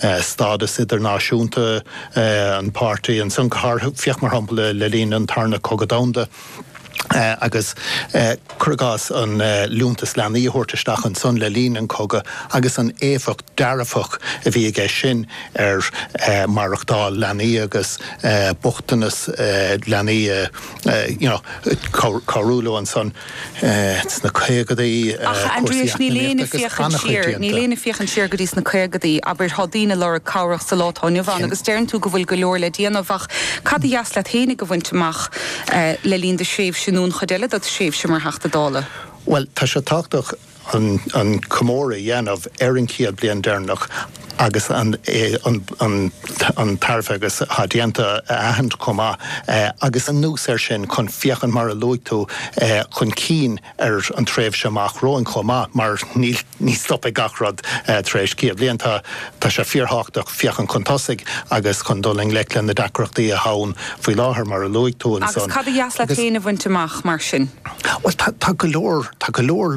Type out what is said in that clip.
Stádas idirnáisiúnta an pháirtí ansan, go háirithe, féach mar shampla le linn an Tarna Cogadh Domhanda agus cuir i gcás an liúntas leanaí a thabhairt isteach ansan le linn an chogaidh agus an éifeacht dearfach a bhí aige sin ar maireachtáil leanaí agus bochtanas leanaí you know cabhrú leo ansan. sna caogadaí, Ach a cúrsaí Aindrias, níl éinne eacnamaíochta agus féachaint an-chuid siar, déanta. níl éinne féachaint siar go dtí sna caogadaí, abair, tá daoine ag lorg cabhrach sa lá atá inniu ann agus deireann tú go bhfuil go leor le déanamh ach cad a dheas leat fhéinig a bhaint amach le linn do thréimhse nó an chuid eile de do thréimhse mar Theachta Dála? Bhuel, tá sé tábhachtach an comóradh a dhéanamh ar an chéad bliain deireanach agus an tairbhe agus atá déanta a aithint chomh maith agus anuas air sin chun féachaint mar a luaigh tú chun cinn ar an tréimhse amach romhainn chomh maith mar níl ní stopfaidh gach rud tar éis 100 bliain. Tá tá sé fíorthábhachtach féachaint chun tosaigh agus chun dul i ngleic le na deacrachtaí atá ann faoi láthair mar a luaigh tú Agus ansan cad a dheas leat agus féin a bhaint amach mar sin? Bhuel tá tá go leor tá go leor leor.